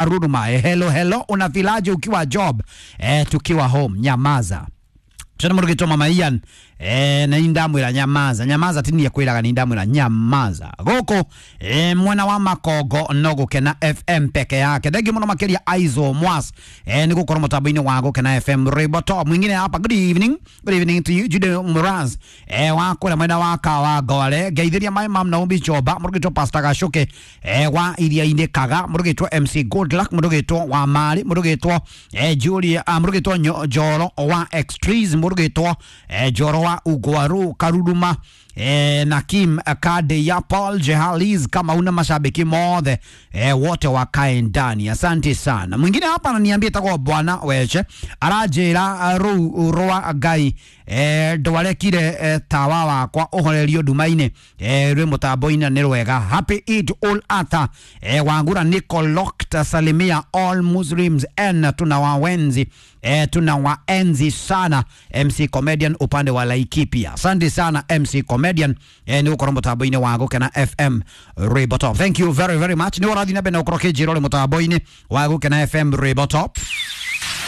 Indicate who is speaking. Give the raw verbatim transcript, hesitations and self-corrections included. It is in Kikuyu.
Speaker 1: Karuruma. Hello hello, unafilaje ukiwa job? Eh, tukiwa home nyamaza. Tena murugitwo mama Ian eh na indamwira nyamaza nyamaza tini yakwiraga ni indamwira nyamaza guku eh mwana wa makongo no gukena F M peke yake. Thengi muno makiria Aizo Mwas eh ni gukorwo mutambo-ini wa Gukena F M Riboto. Mwingine hapa, good evening, good evening to you Jude Muraz eh wa kura mwena wa Kawa Ngore. Ngeithiria mai mam Naomi Choba, murugitwo Pastor Gacuke eh wa iria-ini Kaga, murugitwo M C Good Luck, murugitwo wa Mari, murugitwo eh Julia, ah, murugitwo Njoro wa Extrees, murugitwo eh Njoro wa Ugwaru Karuruma eh, na Kim Kade ya Paul Jehaliz, kama una mashabiki mothe eh, wote wakae ndani. Asante sana. Mwingine hapa ananiambia takwa bwana weche aranjira ruu rwa Ngai eh, ndwarekire eh, tawa wakwa uhorerio nduma-inĩ eh, rwi mutambo-inĩ nĩ rwega. Happy Eid ul Adha eh, Wangura Nicolokta salimia all Muslims and tunawaenzi eh, tunawaenzi sana M C Comedian upande wa Laikipia. Asante sana M C Comedian eh, ni ukorwo mutambo-inĩ wa Gukena F M Ribotop. Thank you very very much. Ni ũrathiĩ na mbere na gũkorwo kĩnjĩra ũrĩ mutambo-inĩ wa Gukena F M Ribotop.